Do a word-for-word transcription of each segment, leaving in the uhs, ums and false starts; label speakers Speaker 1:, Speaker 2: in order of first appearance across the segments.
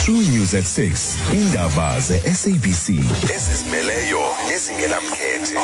Speaker 1: True News at six. Indaba ze-S A B C ezizimeleyo nezingenamkhethe.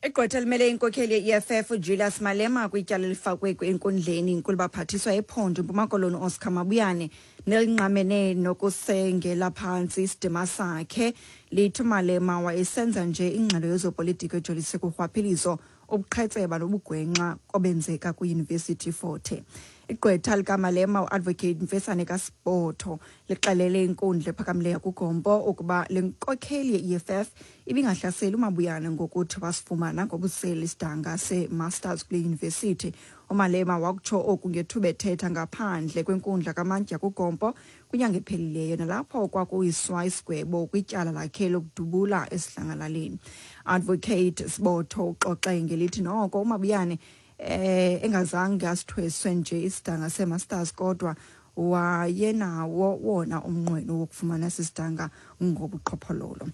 Speaker 2: Igqwetha elimele inkokheli ye-E F F uJulius Malema kwityala elifakwe enkundleni inkulubaphathiswa yephondo iMpuma Koloni Oscar Mabuyane nelingqamene nokusengela phantsi isidima sakhe, lithi uMalema wayesenza nje ingxelo yezopolitiko ejolise kurhwaphilizo, ubuqhetseba nobugwenxa obenzeka kwiYunivesithi Fort Hare. Igqwetha likaMalema uAdvocate Mfesane kaSibotho lixelele inkundla ephakamileyo kuGompo ukuba le nkokheli ye-E F F ibingahlaseli uMabuyane ngokuthi wasifumana ngobusela isidanga se-masters kule yunivesithi. UMalema wakutsho oku ngethuba ethetha ngaphandle kwenkundla kamantyi kuGompo kwinyanga ephelileyo, nalapho kwakuyiswa isigwebo kwityala lakhe lokudubula esidlangalaleni. Advocate Sibotho uxoxe ngelithi noko uMabuyane eh engazange asithweswe nje isidanga se-masters, kodwa wayenawo wona umnqweno wokufumana sisidanga ngobuqhophololo.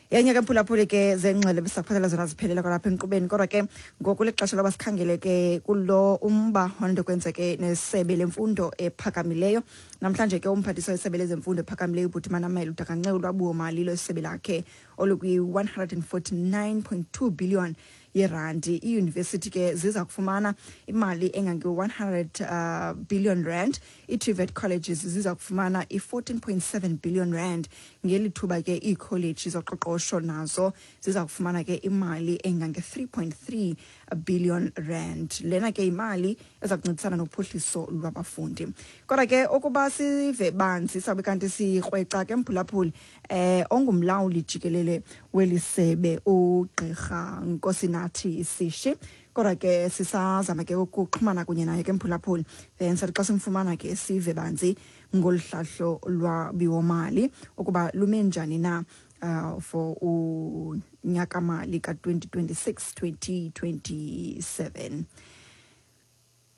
Speaker 2: Yenye ke, mphulaphuli, ke zengxelo besakuphathela zona ziphelela kwalapha enkqubeni, kodwa ke ngoku lixesha loba sikhangele ke kulo umba onto kwenzeke nesebe lemfundo ephakamileyo. Namhlanje ke umphathiswa wesebe lezemfundo ephakamileyo uBhuti Manamela udakanxe ulwabiwo-mali lwesebe lakhe olukwi-one hundred forty-nine point two billion yerandi. Iiyunivesithi ke ziza kufumana imali engange-one hundred uh, billion rand, ii-TVET colleges ziza kufumana i-fourteen point seven billion rand, ngeli thuba ke iikholeji zoqoqosho nazo ziza kufumana ke imali engange-three point three billion rand. Lena ke imali eza kuncedisana nophuhliso lwabafundi. Kodwa ke ukuba sive banzi, sabe kanti sikrweca ke, mphulaphuli, eh ongumlawuli jikelele weli sebe ugqirha Nkosinathi Sishi, kodwa ke sisazama ke ukuxhumana kunye naye ke, mphulaphuli, then sathi xa simfumana ke sive banzi ngolu hlahlo lwabiwomali ukuba lume njani na uh, for unyaka-mali ka-twenty twenty-six twenty twenty-seven.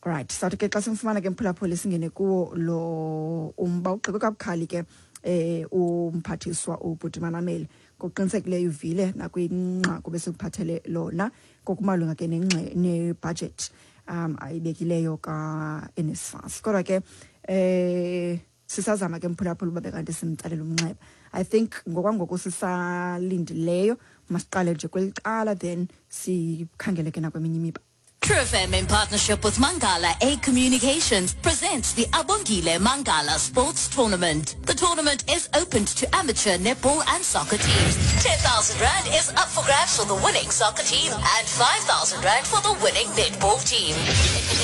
Speaker 2: Right, sathi ke xa simfumana ke, mphulaphuli, singene kuwo lo umba. Ugxekwe kabukhali ke eh umphathiswa uBhuti Manamela. Ngokuqinisekileyo uvile nakwinqaku besikuphathele lona ngokumalunga ke nebudget um ayibekileyo ka-N S F A S, kodwa ke eh sisazama ke, mphulaphula, uba bekanti simtsalela umnxeba. I think ngokwangoku sisalindileyo, masiqale nje kweli cala, then sikhangele ke nakweminye imiba.
Speaker 3: True F M, in partnership with Mangala A Communications, presents the Abongile Mangala Sports Tournament. The tournament is open to amateur netball and soccer teams. ten thousand Rand is up for grabs for the winning soccer team and five thousand Rand for the winning netball team.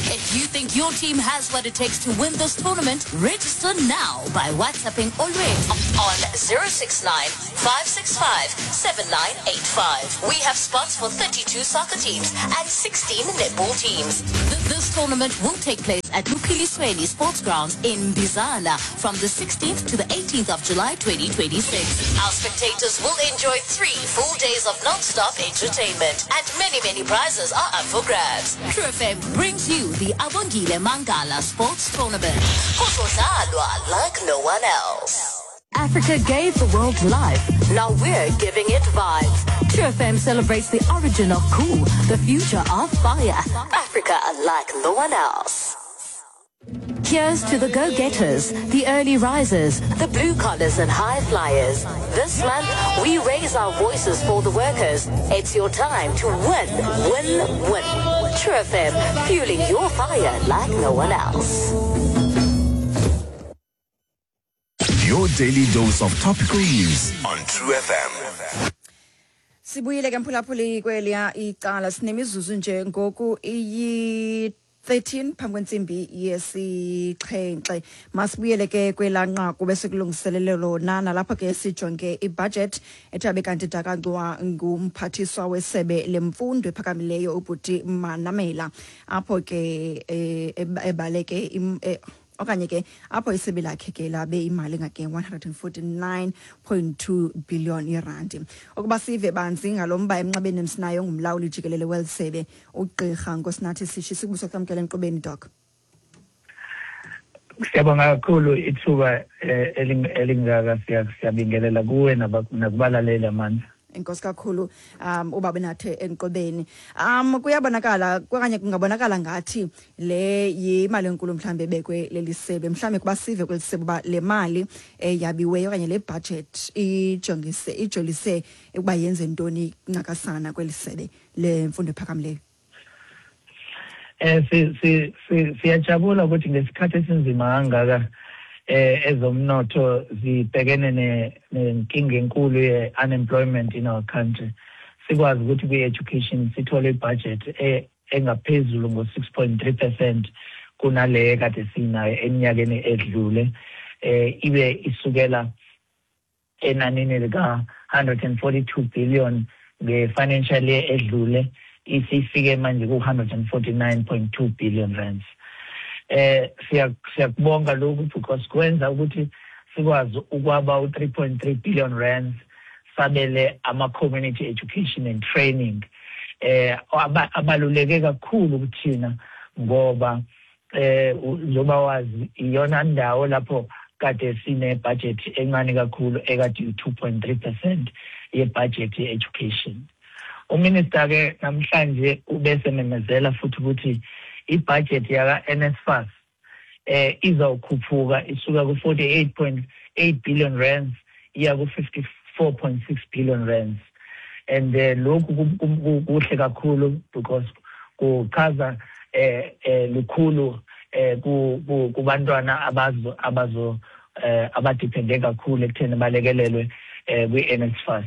Speaker 3: If you think your team has what it takes to win this tournament, register now by WhatsApping Olwethu on zero six nine five six five seven nine eight five. We have spots for thirty-two soccer teams and sixteen netball teams. Th- This tournament will take place at Luphilisweni Sports Grounds in Bizana from the sixteenth to the eighteenth of July twenty twenty-six. Our spectators will enjoy three full days of non-stop entertainment, and many, many prizes are up for grabs. True F M brings you the Abongile Mangala Sports Tournament. Kuzodlalwa like no one else. Africa gave the world life. Now we're giving it vibes. True F M celebrates the origin of cool, the future of fire. Africa like no one else. Here's to the go-getters, the early risers, the blue collars and high flyers. This month, we raise our voices for the workers. It's your time to win, win, win. True F M, fueling your fire like no one else.
Speaker 1: Your daily dose of topical news on True F M.
Speaker 2: Sibuyile ke, mphulaphuli, kweliya icala. Sinemizuzu nje ngoku iyi thirteen phambi kwentsimbi yesixhenxe. Masibuyele ke kwelaa nqaku besikulungiselele lona, nalapho ke sijonge ibudget ethe abe kanti dakancwa ngumphathiswa wesebe lemfundo ephakamileyo uBhuti Manamela, apho ke eh, ebaleke im- eh, okanye ke apho isebe lakhe ke labe imali engake one hundred forty-nine point two billion irandi. Ukuba sive banzi ngalo mba, emnxebeni emsinayo ngumlawuli jikelele weli sebe ugqirha Nkosinathi Sishi. Sikubuso kusamkela enkqubeni, Doc.
Speaker 4: Siyabonga kakhulu ithuba eh, eling- elingaka. siya- siyabingelela kuwe naba- nakubalaleli, Amandla.
Speaker 2: Enkosi kakhulu um uba benathe enqobeni. Um kuyabonakala okanye kungabonakala ngathi le yimali enkulu mhlambe ebekwe leli sebe, mhlambe kuba sive kweli sebe uba le mali eyabiweyo okanye le budget ijongise ijolise ukuba yenze ntoni ncakasana kweli sebe lemfundo ephakamileyo.
Speaker 4: Eh si si siyajabula ukuthi ngesikhathi esinzima kangaka eh ezomnotho zibhekene nenkinga enkulu ye-unemployment in our country, sikwazi ukuthi kwi-education sithole ibudget engaphezulu ngo-six point three percent kunale kade sinayo eminyakeni edlule, eh ibe isukela enanini lika one hundred and forty-two billion nge-financial year edlule, isifike manje ku one hundred and forty-nine point two billion rands. Eh siyakubonga lokhu because kwenza ukuthi sikwazi ukwaba u three point three billion rands sabele ama community education and training eh abaluleke kakhulu kuthina ngoba eh njengoba wazi iyona ndawo lapho kade sine budget encane kakhulu ekade two point three percent ye budget ye education. Uminister ke namhlanje ubese memezela futhi ukuthi ibudget yaka N S F A S eh izawukhuphuka isuka ku forty-eight point eight billion rands iya ku fifty-four point six billion rands, and lokhu kuhle kakhulu because kuchaza eh lukhulu eh kubantwana abazo abazo abadepende kakhulu ekutheni balekelelwe kwi N S F A S.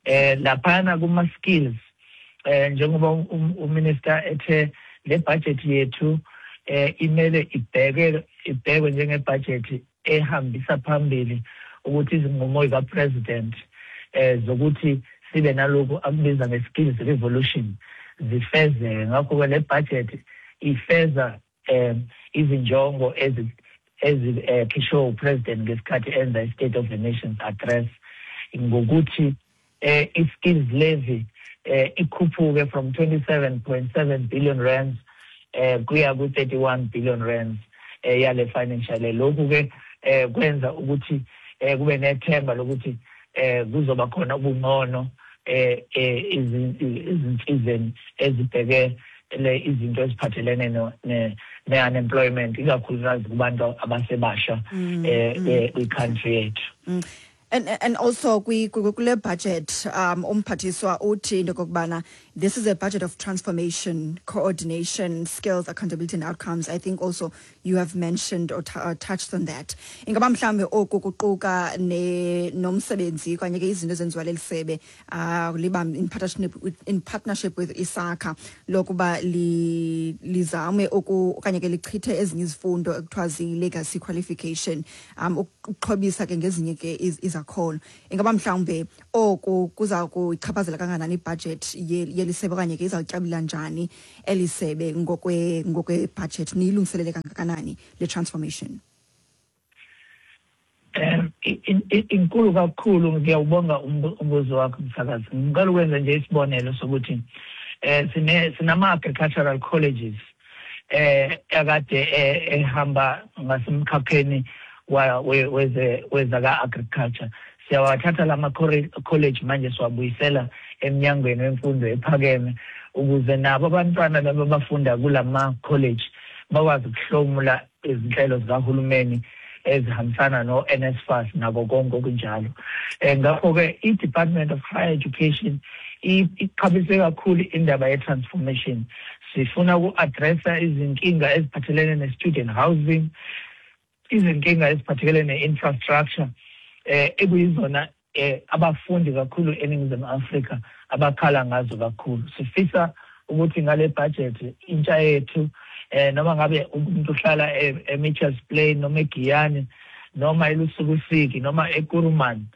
Speaker 4: Eh laphana kuma skills eh njengoba uminister ethe le budget yethu eh imele ibheke ibhekwe njenge budget ehambisa phambili ukuthi izinqumo zika president eh zokuthi sibe nalokhu akubiza nge skills revolution zifezeke. Ngakho ke le budget ifeza eh izinjongo ezi ezikhishwe upresident ngesikhathi enza i-State of the Nations address ngokuthi eh i-skills levy eh ikhuphuke from twenty-seven point seven billion rands eh kuya ku thirty-one billion rands eh yale financial. Lokhu ke eh kwenza ukuthi eh kube nethemba lokuthi eh kuzoba khona ubungcono eh izinsizeni ezibheke le izinto eziphathelene ne ne-unemployment ikakhulukazi kubantu abasebasha eh kwi-country yethu.
Speaker 2: And and also kwi kule budget um umphathiswa uthi into kokubana this is a budget of transformation, coordination, skills, accountability and outcomes. I think also you have mentioned or, or touched on that. Ingaba mhlambe oku kuquka ne nomsebenzi kanye ke izinto ezenziwa leli sebe uh liba in partnership with, in partnership with ISACA lokuba li lizame oku okanye ke lichithe ezinye izifundo ekuthiwa zi legacy qualification um ukuxhobisa ke ngezinye ke iz khona. Ingaba mhlawumbe oku kuza kuyichaphazela kangakanani ibudget yelisebe okanye ke izawutyabula njani elisebe ngokwe ngokwe budget niyilungiselele kangakanani le transformation?
Speaker 4: Um inkulu kakhulu. Ngiyawubonga umbuzo wakho msakazi. Ngicela ukwenza nje isibonelo sokuthi eh sine sinama agricultural colleges eh akade ehamba ngasemkhakheni weze wezaka agriculture. Siyawathatha lama college manje siwabuyisela eminyangweni wemfundo ephakeme ukuze nabo abantwana laba abafunda kulama college bakwazi ukuhlomula izinhlelo zikahulumeni ezihambisana no N S F A S nako konke okunjalo. Eh ngakho ke i Department of Higher Education iqhabise kakhulu indaba ye transformation. Sifuna uku-addressa izinkinga eziphathelene ne student housing, izinkinga eziphathelene ne-infrastructure eh ekuyizona eh abafundi kakhulu eNingizimu Afrika abakhala ngazo kakhulu. Sifisa ukuthi ngale budget intsha yethu eh noma ngabe umuntu uhlala eMitchells Plain noma eGiyani noma eLusukusiki noma eKuruman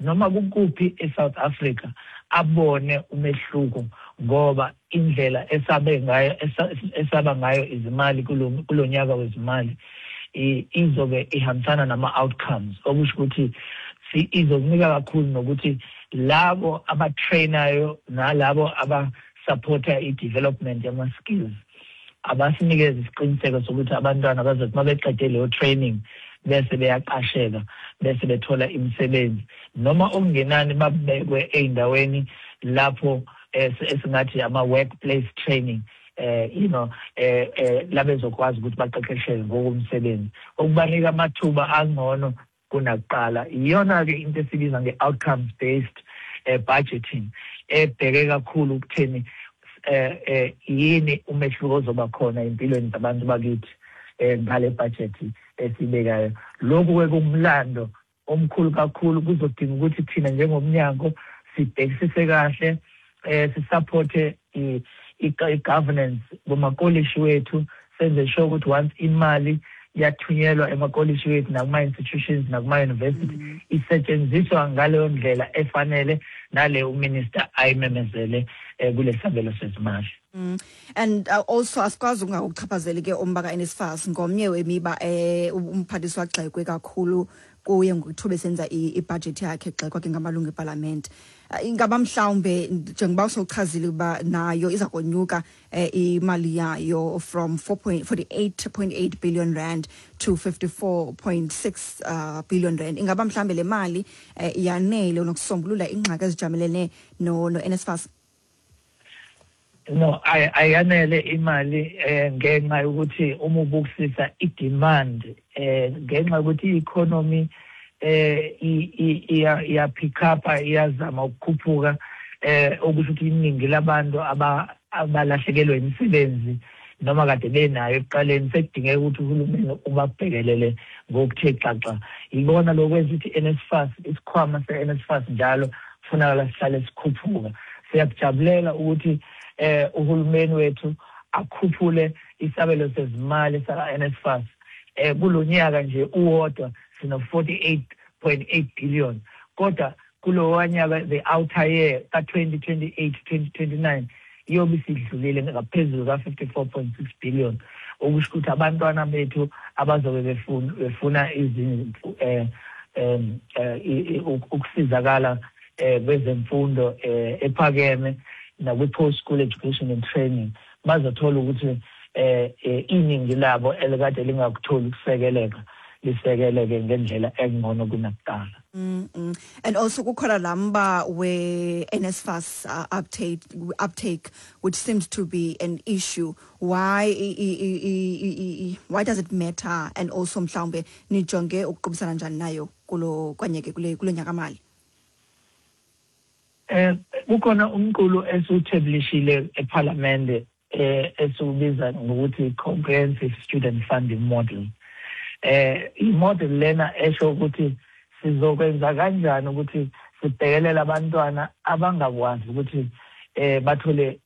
Speaker 4: noma kukuphi eSouth Africa abone umehluko, ngoba indlela esabe ngayo esaba ngayo izimali kulonyaka wezimali izobe ihambisana nama outcomes, okusho ukuthi izokunika kakhulu nokuthi labo abatrainayo nalabo abasupporta i-development yama skills abasinikeze isiqiniseko sokuthi abantwana bazothi mabeqede leyo training bese beyaqasheka bese bethola imisebenzi, noma okungenani babekwe ey'ndaweni lapho esingathi ama-workplace training, eh you know eh labezokwazi ukuthi baqeqesheke ngokomsebenzi, okubanika amathuba angcono kunakuqala. Iyona ke into esibiza nge-outcomes based eh, budgeting, ebheke kakhulu ukutheni eh, eh yini umehluko ozoba khona empilweni zabantu bakithi eh ngale budget esibekayo. Lokhu ke kumlando omkhulu kakhulu, kuzodinga ukuthi thina njengomnyango sibhekisise kahle, eh sisupporte i-governance kumakolishi wethu, senze sure ukuthi once imali yathunyelwa emakolishi wethu nakuma-institutions nakuma-university mm. isetshenziswa ngaleyo ndlela efanele nale uminister ayimemezele eh, kule sabelo sezimali.
Speaker 2: Mm. And uh, also asikwazi ukungakuchaphazeli ke umba ka-N S F A S, ngomnye wemiba eh umphathiswa agxekwe kakhulu kuye ngokuthuba esenza ibudget yakhe, egxekwa ke ngamalungu epalamente. Ingaba mhlawumbe njengoba usowuchazile uba nayo iza konyuka eh, imali yayo from four point forty-eight point eight billion rand to fifty-four point six uh, billion rand, ingaba mhlawumbe le mali eh, yanele nokusombulula ingxaki ezijamelene no, no N S F A S?
Speaker 4: No, ayanele imali eh ngenxa yokuthi uma ubukisisa i-demand, eh ngenxa yokuthi i-economy eh iya iya pick up, iyazama ukukhuphuka, eh okusho ukuthi iningi labantu abalahlekelwe imisebenzi noma kade benayo ekuqaleni sekudingeka ukuthi uhulumeni ubabhekelele ngokuthe xaxa. Ibona lokwenza ukuthi N S F A S, isikhwama se-N S F A S njalo kufunakala sihlale sikhuphuka. Siyakujabulela ukuthi eh uhulumeni wethu akhuphule isabelo sezimali saka N S F A S. eh kulonyaka nje uwodwa sino forty-eight point eight billion, kodwa kulo nyaka, the outer year ka twenty twenty-eight twenty twenty-nine, iyobe isidlulile ngaphezulu ka fifty-four point six billion, okusho ukuthi abantwana bethu abazobe befuna befuna izinto eh em ukusizakala kwezemfundo ephakeme nakwi-post school education and training bazothola ukuthi eh iningi labo elikade lingakutholi ukusekeleka lisekeleke ngendlela engcono kunakuqala.
Speaker 2: Mm -mm. And also kukhona lamba we N S F A S uh, uptake uptake which seems to be an issue. Why i, i, i, why does it matter, and also mhlawumbe nijonge ukuqubisana njani nayo kulo kwanyeke kule kulo nyaka mali?
Speaker 4: Eh kukhona umqulu esiwuthabulishile eParliament eh esiwubiza ngokuthi comprehensive student funding model. Eh i-model lena esho ukuthi sizokwenza kanjani ukuthi sibhekelele abantwana abangakwazi ukuthi eh bathole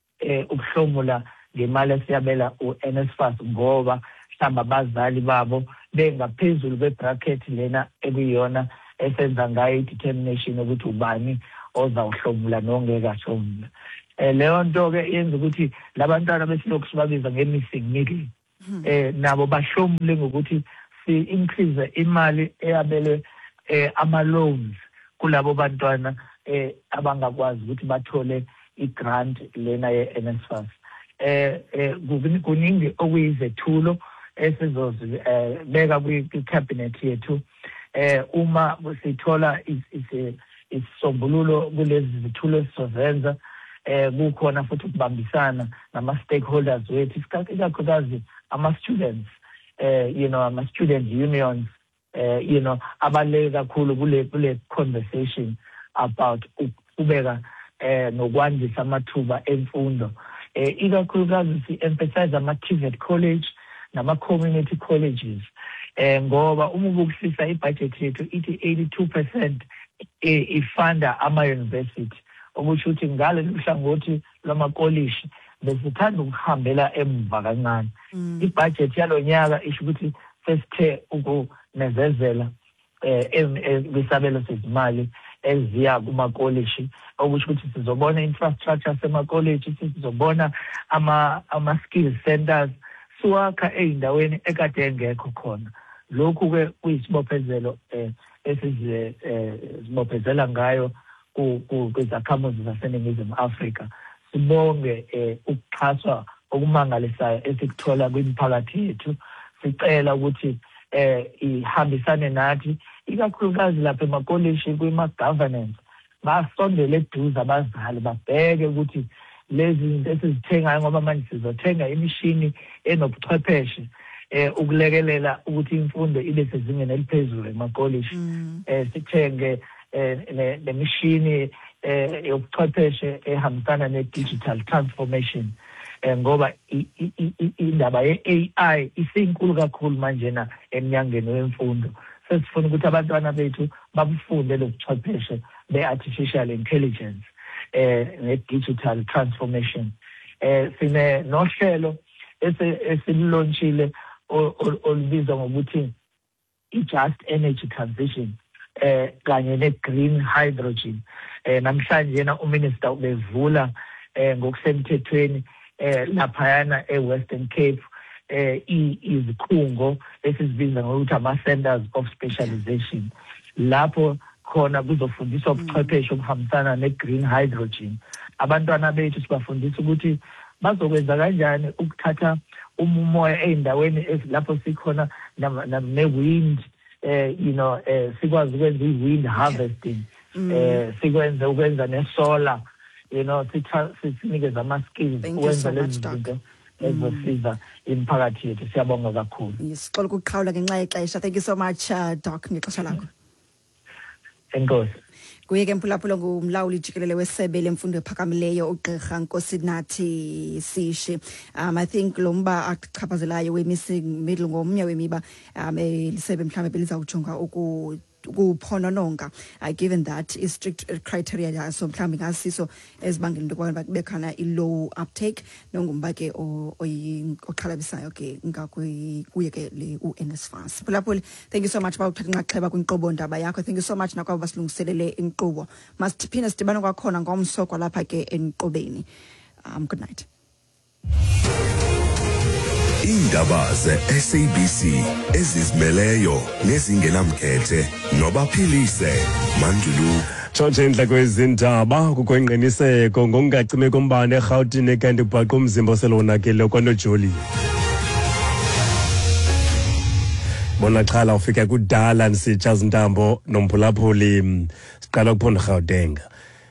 Speaker 4: ukuhlomula ngemali esiyabela u-N S F A S, ngoba mhlawumbe abazali babo bengaphezulu kwe-bracket lena ekuyiyona esenza ngayo i-determination ukuthi ubani ozawuhlomula nongeke ahlomula. Eh leyo nto ke yenza ukuthi labantwana besilokhu sibabiza nge-missing middle eh nabo bahlomule ngokuthi si-increase imali eyabelwe eh ama loans kulabo bantwana eh abangakwazi ukuthi bathole i-grant lena ye-N S F A S. eh kuningi okuyizethulo esizozibeka kwi-cabinet yethu eh uma sithola isisombululo kulezi zithulo esizozenza. eh kukhona futhi ukubambisana nama stakeholders wethu, ikakhulukazi ama students, eh you know ama student unions, eh you know abaluleke kakhulu kule kule conversation about ukubeka eh nokwandisa amathuba emfundo. eh ikakhulukazi si emphasize ama T V E T college nama community colleges, eh ngoba uma ubukisisa ibudget yethu ithi eighty-two percent ifunda ama university, okusho ukuthi ngale hlangothi lwamakolishi besithanda ukuhambela emva kancane. Ibudget yalonyaka isho ukuthi sesithe ukunezezela eh kwisabelo sezimali eziya kumakolishi, okusho ukuthi sizobona infrastructure semakolishi, sizobona ama ama skill centers siwakha ey'ndaweni ekade engekho khona. Lokhu ke kuyisibophezelo eh esize sibophezela ngayo kwizakhamuzi zaseNingizimu Afrika. Sibonge ukuxhaswa okumangalisayo esikuthola kwimiphakathi yethu. Sicela ukuthi eh ihambisane nathi, ikakhulukazi lapha emakoleshi kwima governance, basondele eduze abazali babheke ukuthi lezi zinto esizithengayo, ngoba manje sizothenga imishini enobuchwepheshe eh ukulekelela ukuthi imfundo ibe sezingeni eliphezulu emakoleshi, eh sithenge nemishini eh yobuchwepheshe ehambisana ne-digital transformation, ngoba indaba ye-A I isinkulu kakhulu manjena emnyangeni wemfundo. Sesifuna ukuthi abantwana bethu babufunde lobuchwepheshe be-artificial intelligence eh ne-digital transformation. Eh sine nohlelo esilonchile olubizwa ngokuthi i-just energy transition eh kanye ne-green hydrogen. Eh namhlanje yena uminister ubevula eh ngokusemthethweni eh laphayana e-Western Cape eh izikhungo esizibiza ngokuthi ama-centers of specialization, lapho khona kuzofundiswa ubuchwepheshe obuhambisana ne-green hydrogen. Abantwana bethu sibafundisa ukuthi bazokwenza kanjani ukuthatha umoya ey'ndaweni lapho sikhona ne-wind, eh you know eh sikwazi ukwenza i-wind harvesting, eh sikwenze ukwenza ne-solar, you know, sinikeza ama-skills ukwenza lezi zinto ezosiza imiphakathi yethu. Siyabonga kakhulu.
Speaker 2: Sixola ukuqhawula ngenxa yexesha. Thank you so much, uh, Doc, ngexesha lakho.
Speaker 4: Enkosi.
Speaker 2: Kuye ke mphulaphula ngumlawuli jikelele wesebe lemfundo ephakamileyo uGqirha Nkosinathi Sishi. Um I think lo mba achaphazelayo we-missing middle ngomnye wemiba um elisebe mhlawumbe belizawujonga uku ukuphonononga, uh, given that is strict criteria yaso mhlawumbe ngasiso ezibangela into yokubana kube khona i-low uptake, nongumba ke oxhalabisayo ke ngakuye ke le u-N S F A S. Phulaphuli, thank you so much bawuthatha inxaxheba kwinkqubo ndaba yakho. Thank you so much nakwabo basilungiselele inkqubo. Masiphinde sidibane kwakhona ngomso kwalapha ke enkqubeni. Um good night.
Speaker 1: Iindaba ze-S A B C ezizimeleyo nezingenamkhethe nobaphilise Mandulu.
Speaker 5: Tshotshe indla kwezindaba kukho ingqiniseko ngokungacimi kombane eRhawutini kanti kubhaqwa umzimba oselonakele kwaNojoli. Bona xhala ufika kudala nisitsha zintambo nomphulaphuli. Siqala kuphondo Gauteng.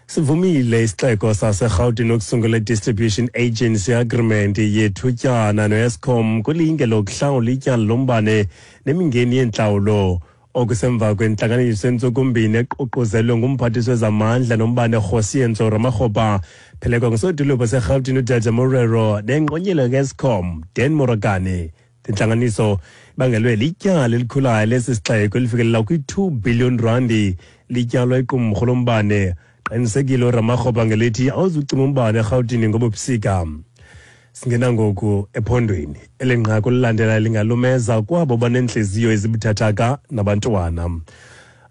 Speaker 5: Sivumile isixeko saseRhawutini ukusungula i-Distribution Agency Agreement yethutyana no-Eskom kulinge lokuhlawula ityala lombane nemingeni yentlawulo. Okusemva kwentlanganiso entsukumbini eququzelwe ngumphathiswa wezamandla nombane Kgosientsho Ramokgopa, phelekwa ngusodolophu waseRhawutini uDada Morero nengqonyela ka-Eskom Dan Moragane. Intlanganiso ibangelwe lityala elikhulayo lesi sixeko elifikelela kwi-two billion randi lityalwa iqumrhu lombane. Qinisekile uRamokgopa ngelithi awuzucima umbane eRhawutini ngobubusika. Singena ngoku ephondweni. Eli nqaku lilandela lingalumeza kwabo banentliziyo ezibuthathaka nabantwana.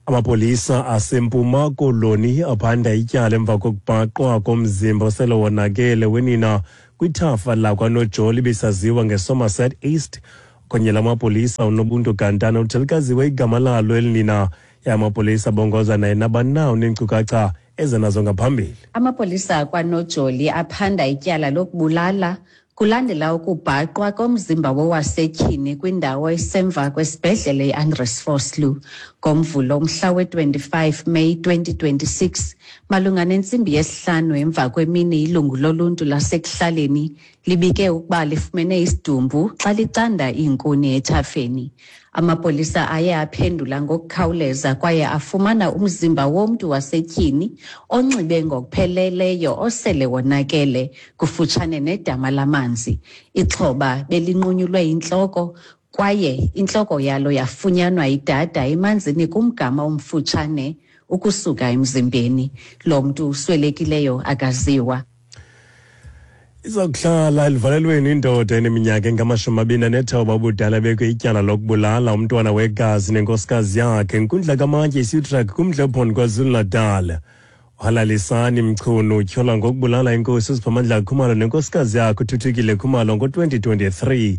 Speaker 5: Amapolisa aseMpuma Koloni aphanda ityala emva kokubhaqwa komzimba osele wonakele wenina kwithafa lakwaNojoli ibisaziwa ngeSomerset East. Kunye lamapolisa uNobuntu Gantana uthelikaziwe igama lalo elinina. Amapolisa abongoza naye nabanawo neenkcukacha ezenazo ngaphambili.
Speaker 6: Amapolisa kwaNojoli aphanda ityala lokubulala kulandela ukubhaqwa komzimba wowasetyhini kwindawo esemva kwesibhedlele iAndres Vosloo ngoMvulo umhla we-twenty-five May twenty twenty-six malunga nentsimbi yesihlanu emva kwemini. Ilungu loluntu lasekuhlaleni libike ukuba lifumene isidumbu xa licanda iinkuni ethafeni. Amapolisa aye aphendula ngokukhawuleza kwaye afumana umzimba womntu wasetyhini onxibe ngokupheleleyo osele wonakele kufutshane nedama lamanzi. Ixhoba belinqunyulwe intloko kwaye intloko yalo yafunyanwa idada emanzini kumgama omfutshane ukusuka emzimbeni. Lo mntu uswelekileyo akaziwa.
Speaker 5: Izokuhlala elivalelweni indoda eneminyaka engamashumi amabini anethoba ubudala bekwe ityala lokubulala umntwana wegazi nenkosikazi yakhe inkundla kaMantyi iSutrak kumdla wephondo KwaZulu-Natal. Uhalalisani Mchunu utyholwa ngokubulala inkosi uSiphamandla Khumalo nenkosikazi yakhe uThuthukile Khumalo ngo-twenty twenty-three.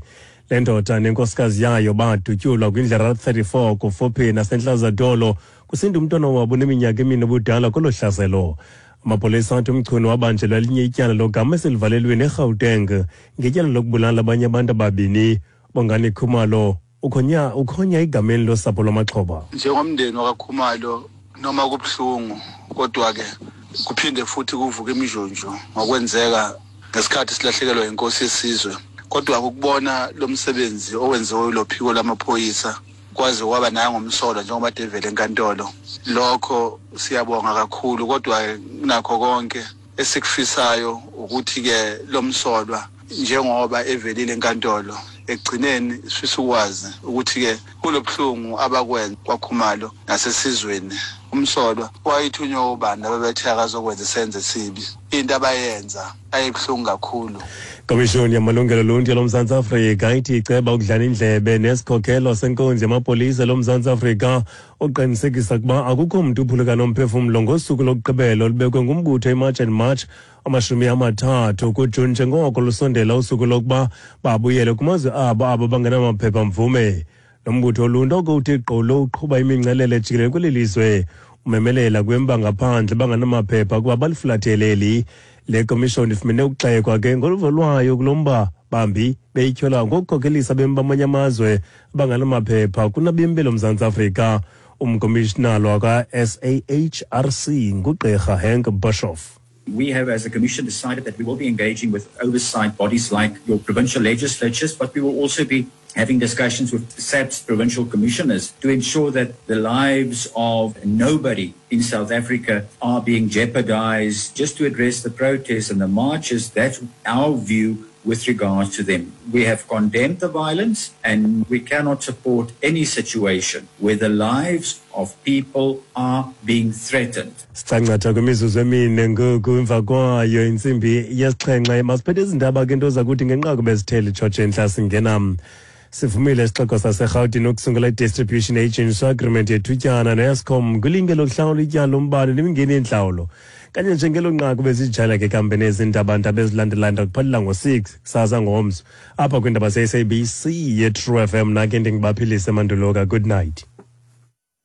Speaker 5: Le ndoda nenkosikazi yayo badutyulwa kwindlela thirty-four kufuphi naseNtlazadolo kusinda umntwana wabo oneminyaka emine ubudala kolo hlaselo. Amapolisa athi uMchunu wabanjelwa elinye ityala logama eselivalelweni eGauteng ngetyala lokubulala abanye abantu ababini. Bongani Khumalo Ukhonya ukhonya egameni losapho lwamaxhoba.
Speaker 7: Njengomndeni wakaKhumalo, noma kubuhlungu, kodwa ke kuphinde futhi kuvuke imijunju ngokwenzeka ngesikhathi silahlekelwa inkosi yesizwe. Kodwa ukubona lo msebenzi owenziwe lophiko lamaphoyisa kwaze kwaba nangomsolwa njengoba devele enkantolo, lokho siyabonga kakhulu. Kodwa nakho konke esikufisayo ukuthi ke lo msolwa njengoba evelile enkantolo, ekugcineni sifisa ukwazi ukuthi ke kulobuhlungu abakwenza kwaKhumalo nasesizweni, umsolwa wayithunywa ubani ababethe akazokwenza isenzo esibi. Into abayenza ayibuhlungu kakhulu.
Speaker 5: Komishoni yamalungelo oluntu loMzantsi Afrika ithi iceba ukudlana indlebe nesikhokelo senkonzo yamapolisa loMzantsi Afrika uqinisekisa ukuba akukho mntu uphuluka nomphefumlo ngosuku lokugqibela olubekwe ngumbutho iMarch and March amashumi amathathu kuJuni, njengoko lusondela usuku lokuba babuyele kumazwe abo abo bangenamaphepha mvume. Lo mbutho oluntu oko uthi gqolo uqhuba imingcelele jikelele kweli lizwe umemelela kwemba ngaphandle bangenamaphepha kuba balifulathele. Le komishoni ifumene ukugxekwa ke ngoluvo lwayo kulo mba, bambi beyityhola ngokukhokelisa abemi bamanye amazwe abangenamaphepha kunabemi beloMzantsi Afrika. Umkomishinala wakwa-S A H R C nguGqirha Henk Boshoff.
Speaker 8: We have, as a commission, decided that we will be engaging with oversight bodies like your provincial legislatures, but we will also be having discussions with S A P S provincial commissioners to ensure that the lives of nobody in South Africa are being jeopardized just to address the protests and the marches. That's our view with regards to them. We have condemned the violence and we cannot support any situation where the lives of people are being threatened.
Speaker 5: Sicangcatha kwimizuzu emine ngoku emva kwayo intsimbi yesixhenxe. Masiphethe izindaba ke nto zakuthi ngenqaku bezithele tshotshe entla singena. Sivumile isixeko saseRhawutini ukusungula i-distribution agency agreement yethutyana ne-Eskom kwilinge lokuhlawula ityala lombane nemingeni yentlawulo. Kanye njengelo nqaku bezijala ke kambe nezindaba ndaba ezilandelayo ndakuphalela ngo-six kusasa ngomso apha kwiindaba ze-S A B C ye-True F M. Nake ndingibaphilise manduloka. Good night.